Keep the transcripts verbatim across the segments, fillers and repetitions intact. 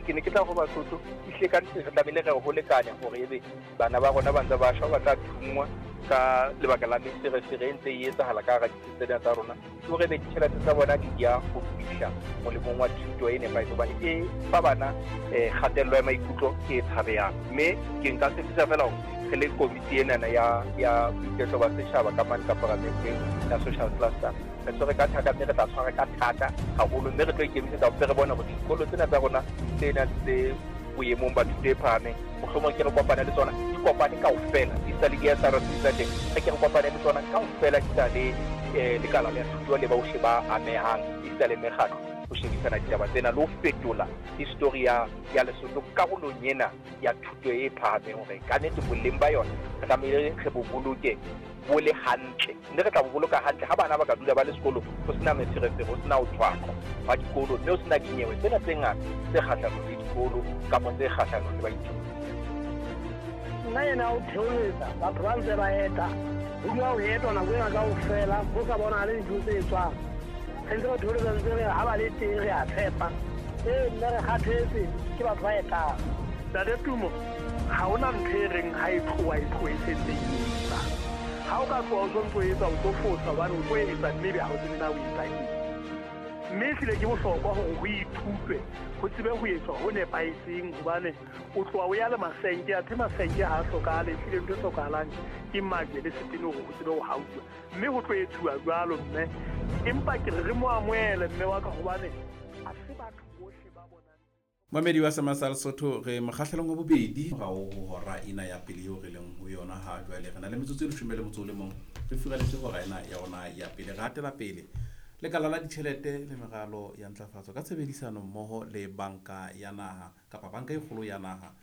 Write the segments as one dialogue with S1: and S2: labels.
S1: Ke ne ke tla go Basotho ehlile ka nnete re tlamehile re ho lekanya hore ebe bana ba rona ba ntse ba shwa, ba tla thunngwa ka lebaka la meferefere e ntse e etsahala ka hara ditsi tsena tsa rona, ke hore ebe ditjhelete tsa bona di ya ho fihla molemong wa thuto e nepahetseng, hobane e fa bana um kgatello ya maikutlo e tshabehang. Mme ke nka tshepisa feela hore re le komiti enana ya ya boiketlo ba setjhaba ka mane ka paramenteng ya social cluster, re tshwere ka thata, mme re tla tshwara ka thata haholo, mme re tlo ikemisetsa hore re bone hore dikolo tsena tsa rona tsena tse boemong ba thuto e phahameng, mohlomong ke re kopane le tsona, di kopane kaofela, di sa le di-S R C tsa teng, re ke re kopane le tsona kaofela, di sa le eh, lekala la thuto le bohle ba amehang, esita le mekgatlo, ho shebisana ditaba tsena le ho fetola history ya ya Lesotho karolong ena ya thuto e phahameng, hore ka nnete boleng ba yona re tlamehile re bo boloke bo le hantle, mme re tla bo boloka hantle ha bana ba ka dula ba le sekolong, ho sena meferefere, ho sena ho thwaqwa hwa dikolo, mme ho sena dinyewe tsena tse ngata tse kgahlanong le dikolo kapa tse kgahlanong le baithuti.
S2: Nna ena o theoletsa batho ba ntse ba eta, ho dula ho etwa nako ena kaofela, ho sa bonahale dintho tse etswang. Re ntse re theoletsa ntse re ha ba le teng re a tshepa. Ee, mme re kgathetse ke batho ba etang.
S3: Ntate Tumo, ha hona ntho e reng ha e tloha e tlohe e sentse e etsa. Ha o ka tloha o sontso o etsa, o tlo fosa hobane o tlo etsa mme ebe ha o tsebe na o etsa eng. Mme ehlile ke bohlokwa hore ho ithutwe, ho tsebe ho etswa ho nepahetseng, hobane o tloha o ya le masenke, athe masenke ha a hlokahale, ehlile ntho e hlokahalang ke majwe le setene hore ho tsebe ho hauwa. Mme ho tlo etsuwa jwalo mme, empa ke re re mo amohele mme wa ka, hobane ha se batho bohle ba bonang.
S4: Mamedi wa Semasa Lesotho, re mokgahlelong wa bobedi morao ho hora ena ya pele eo re leng ho yona ha jwale. Re na le metsotso e leshome le motso o le mong, re furaletse hora ena ya rona ya pele. Re hatela pele lekala la ditjhelete le meralo ya ntlafatso ka tshebedisano mmoho le banka ya naha kapa banka e kgolo ya naha,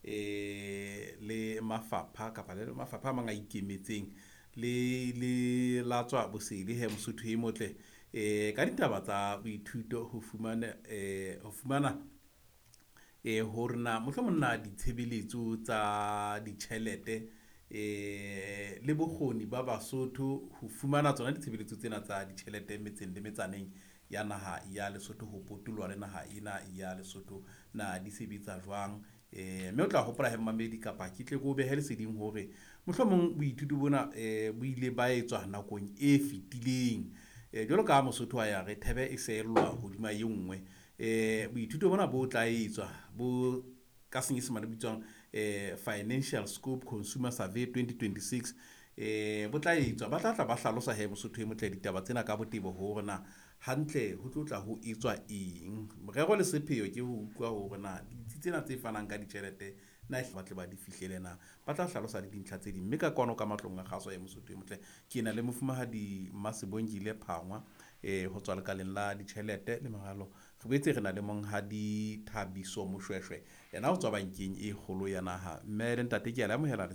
S4: eh le mafapha kapa le mafapha a mang a ikemetseng le le latswa bosedi he Mosotho e motle, eh ka ditaba tsa boithuto ho fumana, eh ho fumana eh hore na mohlomong na ditshebeletso tsa ditjhelete, eh le bokgoni ba Basotho ho fumana tsona ditshebeletso tsena tsa ditjhelete metseng le metsaneng ya naha ya Lesotho, ho potoloha le naha ena ya Lesotho, na di sebetsa jwang. Eh mme o tla hopola he mmamedi kapa ke tle ke o behe leseding hore mohlomong boithuto bona, eh bo ile ba etswa nakong e fetileng. Eh jwalo ka ha Mosotho a ya re thebe e seellwa hodima e nngwe, eh boithuto bona bo tla etswa bo ka senyesemane bitswang, eh Financial Scope Consumer Survey twenty twenty-six, eh bo tla etswa, ba tla tla ba hlalosa he Mosotho e motle ditaba tsena ka botebo hore na hantle ho tlo tla ho etswa eng. Morero le sepheo ke ho utlwa hore na ditsi tsena tse fanang ka ditjhelete na ehlile ba tle ba di fihlele na, ba tla hlalosa le dintlha tse ding. Mme ka kwano ka matlong a kgaso ya Mosotho e motle, ke na le mofumahadi Mmasebongile Phangwa, eh ho tswa lekaleng la ditjhelete le meralo. Re boetse re na le monghadi Thabiso Moshweshwe, yena o tswa bankeng e kgolo ya naha. Mme le ntate ke a le amohela.